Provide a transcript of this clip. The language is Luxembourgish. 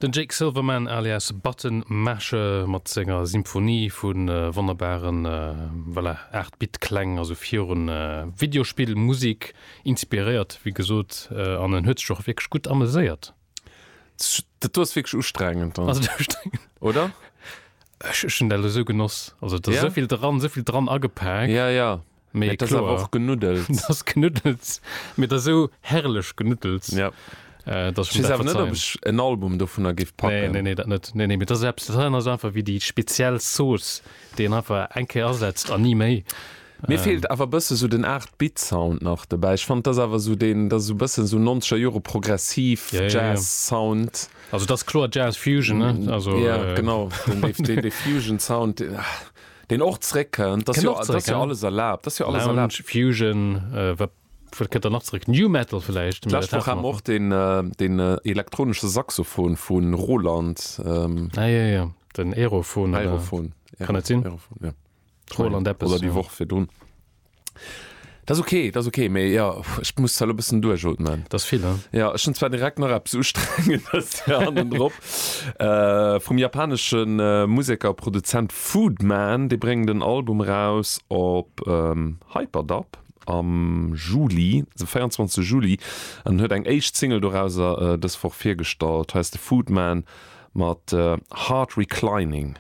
Den Jake Silverman alias Button Masher mat senger Symphonie vu wonnerbaren, voilà, 8 Bit Kläng, also virun Videospill Musik inspiréiert wéi gesot, an en huet sech och wierklech gutt ameséiert. Dat do ass wierklech ustrengend dann. Ass et ustrengend? Oder? Ech hunn dat elo sou genoss. Also et ass esou vill dran, esou vill dran agepak. Ja, ja. Mee dat ass awer och Genuddels. Dat ass Genuddels, mee dat ass esou herrlech Genuddels. Ja. Äh, dass ech weess awer net, ob ech en Album dovunner géif packen. Nee, nee, nee, dat net. Nee, nee, mee dat ass eppes, dat ass einfach wéi déi speziell Zooss, déi een einfach eng Kéier asetzt an ni méi. Mir feelt awer e bësse sou den 8 Bit Sound nach dobäi. Ech fannen, dat ass awer sou deen, dat ass sou e bëssen sou 90er Jore progressiv Jazz Sound. Also dat ass kloer Jazz Fusion, ne? Also, ja, genau, den, deen, dee Fusion Sound, deen, Deen och zréckkënnt, dat ass jo, dat ass jo alles erlaabt, dat ass jo alles erlaabt. Lounge, Fusion, wat, wat kënnt da nach zréck? New Metal vläicht? D'lescht Woch hat mer och deen, deen elektronesche Saxophon vu Roland. Ah jo, jo, den Aerophon, oder? Aerophon, Kann dat sinn? Aerophon, jo. Roland eppes. Oder déi Woch virdrun. Dat ass ok, dat ass ok, mee jo, ech muss zwar elo e bëssen duerchootmen. Dat ass vill, he? Jo, ech hunn zwar direkt nach eppes Ustrengendes hannendrop, vum japanesche Museker a Produzent Foodman. Dee bréngt en Album eraus op Hyperdub am Juli, de 24 Juli, an huet eng éischt Single dorauser dës Woch virgestallt. Hei ass de Foodman mat Heart Reclining.